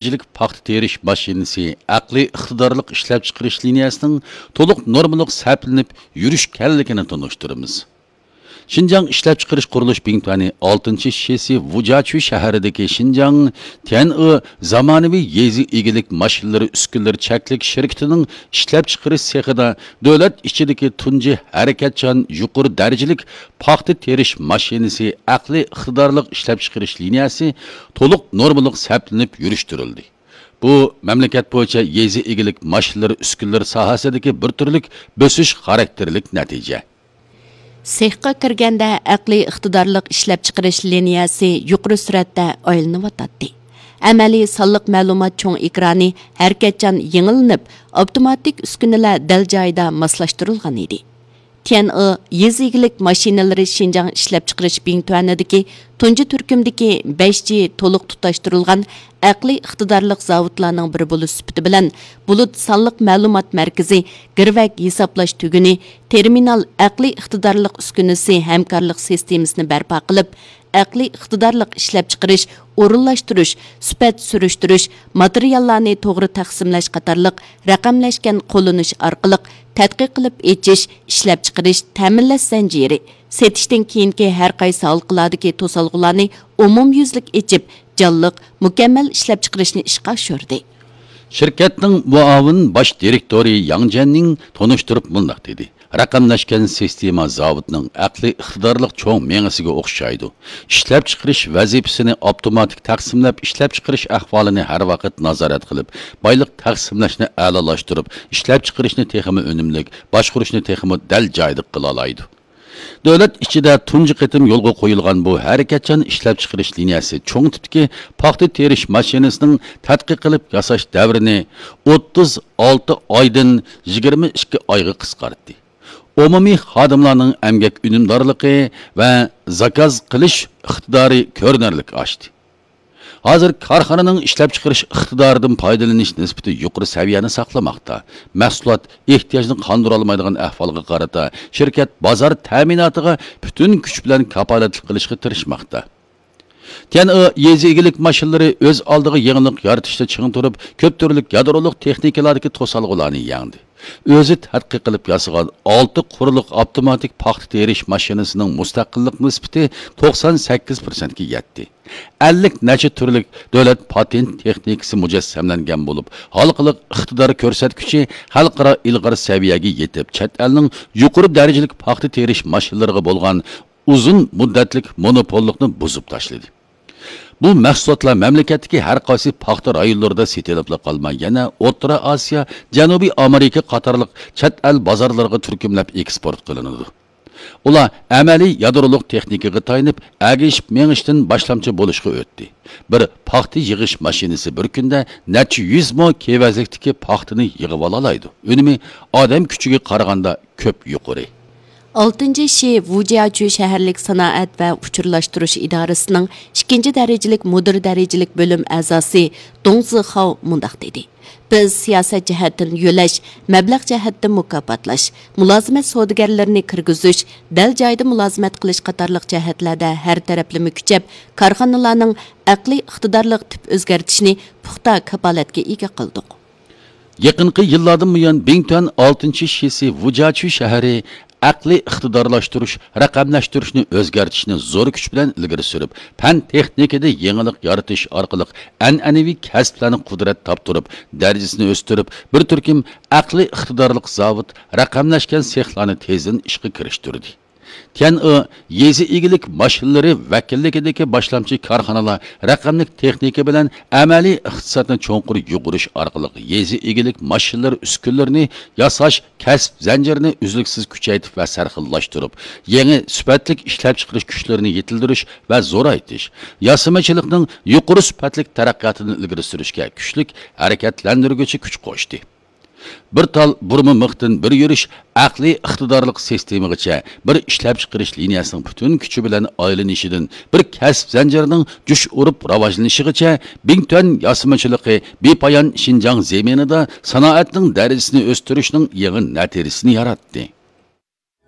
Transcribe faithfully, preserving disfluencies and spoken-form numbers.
دەرىجىلىك پاختا تېرىش ماشىنىسى ئەقلىي ئىقتىدارلىق ئىشلەپچىقىرىش لىنىيەسىنىڭ تولۇق نورمىلىق سەپلىنىپ يۈرۈشكەنلىكىنى تونۇشتۇرىمىز. شىنجاڭ ئىشلەپچىقىرىش قۇرۇلۇش بىڭتۈەنى ئالتىنچى شىسى ۋۇجياچۈ شەھىرىدىكى شىنجاڭ تيەنئې زامانىۋى يېزا ئىگىلىك ماشىنىلىرى ئۈسكۈنىلىرى چەكلىك شىركىتىنىڭ ئىشلەپچىقىرىش سېخىدا دۆلەت ئىچىدىكى تۇنجى ھەرىكەتچان يۇقىرى دەرىجىلىك پاختا تېرىش ماشىنىسى ئەقلىي ئىقتىدارلىق ئىشلەپچىقىرىش لىنىيەسى تولۇق نورمىلىق سەپلىنىپ يۈرۈشتۈرۈلدى. بۇ مەملىكەت بويىچە يېزا ئىگىلىك ماشىنىلىرى ئۈسكۈنىلىرى ساھەسىدىكى بىر تۈرلۈك بۆسۈش خاراكتېرلىك نەتىجە. سېخقا كىرگەندە ئەقلىي ئىقتىدارلىق ئىشلەپچىقىرىش لىنىيەسى يۇقىرى سۈرئەتتە ئايلىنىۋاتاتتى. ئەمەلىي سانلىق مەلۇمات چوڭ ئېكرانى ھەرىكەتچان يېڭىلىنىپ، ئاپتوماتىك ئۈسكۈنىلەر دەل جايىدا ماسلاشتۇرۇلغان ئىدى. تيەنئې يېزا ئىگىلىك ماشىنىلىرى شىنجاڭ ئىشلەپچىقىرىش بىڭتۈەنىدىكى تۇنجى تۈركۈمدىكى بەش جى تولۇق تۇتاشتۇرۇلغان ئەقلىي ئىقتىدارلىق زاۋۇتلارنىڭ بىرى بولۇش سۈپىتى بىلەن، بۇلۇت سانلىق مەلۇمات مەركىزى، گىرۋەك ھېسابلاش تۈگۈنى، تېرمىنال ئەقلىي ئىقتىدارلىق ئۈسكۈنىسى ھەمكارلىق سىستېمىسىنى بەرپا قىلىپ، ئەقلىي ئىقتىدارلىق ئىشلەپچىقىرىش، ئورۇنلاشتۇرۇش، سۈپەت سۈرۈشتۈرۈش، ماتېرىياللارنى توغرا تەقسىملەش قاتارلىق رەقەملەشكەن قوللىنىش ئارقىلىق تەتقىق قىلىپ ئېچىش، ئىشلەپچىقىرىش، تەمىنلەش زەنجىرى، سېتىشتىن كېيىنكى ھەر قايسى ھالقىلاردىكى توسالغۇلارنى ئومۇميۈزلۈك ئېچىپ، جانلىق، مۇكەممەل ئىشلەپچىقىرىشنى ئىشقا ئاشۇردى. شىركەتنىڭ مۇئاۋىن باش دىرېكتورى ياڭ جيەننىڭ تونۇشتۇرۇپ مۇنداق دېدى: رەقەملەشكەن سىستېما زاۋۇتنىڭ ئەقلىي ئىقتىدارلىق چوڭ مېڭىسىگە ئوخشايدۇ. ئىشلەپچىقىرىش ۋەزىپىسىنى ئاپتوماتىك تەقسىملەپ، ئىشلەپچىقىرىش ئەھۋالىنى ھەر ۋاقىت نازارەت قىلىپ، بايلىق تەقسىملەشنى ئەلالاشتۇرۇپ، ئىشلەپچىقىرىشنى تېخىمۇ ئۈنۈملۈك، باشقۇرۇشنى تېخىمۇ دەل جايىدا قىلالايدۇ. دۆلەت ئىچىدە تۇنجى قېتىم يولغا قويۇلغان بۇ ھەرىكەتچان ئىشلەپچىقىرىش لىنىيەسى چوڭ تىپتىكى پاختا تېرىش ماشىنىسىنىڭ تەتقىق قىلىپ ياساش دەۋرىنى ئوتتۇز ئالتە ئايدىن يىگىرمە ئىككى ئايغا قىسقارتتى. ئومۇمىي خادىملارنىڭ ئەمگەك ئۈنۈمدارلىقى ۋە زاكاز قىلىش ئىقتىدارى كۆرۈنەرلىك ئاشتى. ھازىر كارخانىنىڭ ئىشلەپچىقىرىش ئىقتىدارىدىن پايدىلىنىش نىسبىتى يۇقىرى سەۋىيەنى ساقلىماقتا. مەھسۇلات ئېھتىياجنى قاندۇرالمايدىغان ئەھۋالغا قارىتا، شىركەت بازار تەمىناتىغا پۈتۈن كۈچ بىلەن كاپالەتلىك قىلىشقا تىرىشماقتا. تيەنئې يېزا ئىگىلىك ماشىنىلىرى ئۆز ئالدىغا يېڭىلىق يارىتىشتا چىڭ تۇرۇپ، كۆپ تۈرلۈك يادرولۇق تېخنىكىلارىدىكى توسالغۇلارنى يەڭدى. ئۆزى تەتقىق قىلىپ ياسىغان ئالتە قۇرلۇق ئاپتوماتىك پاختا تېرىش ماشىنىسىنىڭ مۇستەقىللىق نىسبىتى توقسان سەككىز پىرسەنتكە يەتتى. ئەللىك نەچچە تۈرلۈك دۆلەت پاتېنت تېخنىكىسى مۇجەسسەملەنگەن بولۇپ، ھالقىلىق ئىقتىدار كۆرسەتكۈچى خەلقئارا ئىلغار سەۋىيەگە يېتىپ، چەت ئەلنىڭ يۇقىرى دەرىجىلىك پاختا تېرىش ماشىنىلىرىغا بولغان ئۇزۇن مۇددەتلىك مونوپوللۇقنى بۇزۇپ تاشلىدى. بۇ مەھسۇلاتلار مەملىكەتتىكى ھەر قايسى پاختا رايونلىرىدا سېتىلىپلا قالماي، يەنە ئوتتۇرا ئاسىيا، جەنۇبىي ئامېرىكا قاتارلىق چەت ئەل بازارلىرىغا تۈركۈملەپ ئېكسپورت قىلىنىدۇ. ئۇلار ئەمەلىي يادرولۇق تېخنىكىغا تايىنىپ، ئەگىشىپ مېڭىشتىن باشلامچى بولۇشقا ئۆتتى. بىر پاختا يىغىش ماشىنىسى بىر كۈندە نەچچە يۈز مو كېۋەزلىكتىكى پاختىنى يىغىۋالالايدۇ. ئۈنۈمى ئادەم كۈچىگە قارىغاندا كۆپ يۇقىرى. ئالتىنچى شى ۋۇجياچۈ شەھەرلىك سانائەت ۋە ئۇچۇرلاشتۇرۇش ئىدارىسىنىڭ ئىككىنچى دەرىجىلىك مۇدىر دەرىجىلىك بۆلۈم ئەزاسى دۇڭ زىخاۋ مۇنداق دېدى: بىز سىياسەت جەھەتتىن يۆلەش، مەبلەغ جەھەتتىن مۇكاپاتلاش، مۇلازىمەت سودىگەرلىرىنى كىرگۈزۈش، دەل جايىدا مۇلازىمەت قىلىش قاتارلىق جەھەتلەردە ھەر تەرەپلىمە كۈچەپ، كارخانىلارنىڭ ئەقلىي ئىقتىدارلىق تىپ ئۆزگەرتىشىنى پۇختا كاپالەتكە ئىگە قىلدۇق. يېقىنقى يىللاردىن بۇيان، بىڭتۈەن ئالتىنچى شىسى ۋۇجياچۈ شەھىرى ئەقلىي ئىقتىدارلاشتۇرۇش، رەقەملەشتۈرۈشنى ئۆزگەرتىشنى زور كۈچ بىلەن ئىلگىرى سۈرۈپ، پەن تېخنىكىدا يېڭىلىق يارىتىش ئارقىلىق ئەنئەنىۋى كەسىپلەرنى قۇدرەت تاپتۇرۇپ، دەرىجىسىنى ئۆستۈرۈپ، بىر تۈركۈم ئەقلىي ئىقتىدارلىق زاۋۇت، رەقەملەشكەن سېخلارنى تېزدىن ئىشقا كىرىشتۈردى. تيەنئې يېزا ئىگىلىك ماشىنىلىرى ۋەكىللىكىدىكى باشلامچى كارخانىلار رەقەملىك تېخنىكا بىلەن ئەمەلىي ئىقتىسادنى چوڭقۇر يۇغۇرۇش ئارقىلىق يېزا ئىگىلىك ماشىنىلىرى ئۈسكۈنىلىرىنى ياساش كەسىپ زەنجىرىنى ئۈزلۈكسىز كۈچەيتىپ ۋە سەرخىللاشتۇرۇپ، يېڭى سۈپەتلىك ئىشلەپچىقىرىش كۈچلىرىنى يېتىلدۈرۈش ۋە زورايتىش، ياسىمىچىلىقنىڭ يۇقىرى سۈپەتلىك تەرەققىياتىنى ئىلگىرى سۈرۈشكە كۈچلۈك ھەرىكەتلەندۈرگۈچى كۈچ قوشتى. بىر تال بۇرما مىختىن بىر يۈرۈش ئەقلىي ئىقتىدارلىق سىستېمىغىچە بىر ئىشلەپچىقىرىش لىنىيەسىنىڭ پۈتۈن كۈچى بىلەن ئايلىنىشىدىن بىر كەسىپ زەنجىرىنىڭ جۇش ئۇرۇپ راۋاجلىنىشىغىچە، بىڭتۈەن ياسىمىچىلىقى بىپايان شىنجاڭ زېمىنىدا سانائەتنىڭ دەرىجىسىنى ئۆستۈرۈشنىڭ يېڭى نەتىجىسىنى ياراتتى.